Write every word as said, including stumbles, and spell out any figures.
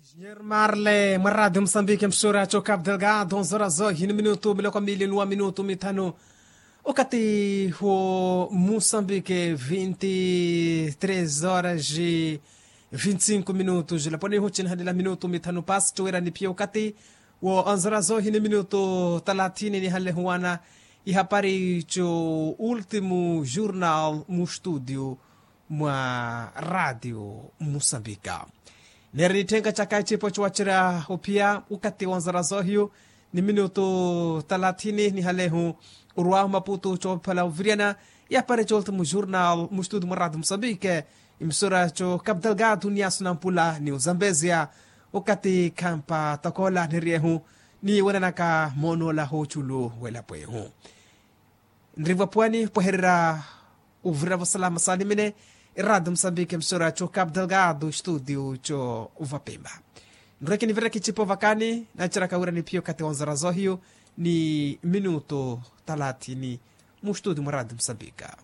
Señor marle mwa radio musambike msura cho cap delgado nzora zohi ni minutu miloko mili nuwa minutu mithanu. Okati ho musambike vinti tres horas vinti cinco minutu jilaponi huchinahanila minutu mithanu pasi chowera ni pia okati wo anzora zohi ni minutu talathini nihanle huwana ihapari cho ultimu jurnal mu studio mwa radio musambika. Neri nithenka chaka echipo chowacherya ophiya ukati wa nzara zohiyu ni minutu talathini nihalehu orwahu maputu chophala oviryana yapari cholta mu jurnal mu studio mwa radio musambike. Imisora cho cap delgado ni asu na mpula ni uzambezia ukati khampa takola niryehu ni wenanaka moonola hochulu welapo ehu. Nrivo pwani pwehererya oviravo salama salimene. Eradio musambike msora cho cap delgado studio cho vapemba. Nrwekinivireki chipo vakani nacheraka wira ni phiyo kati wa nzara zohiyo ni minuto talathini mu studio mwa radio musambika.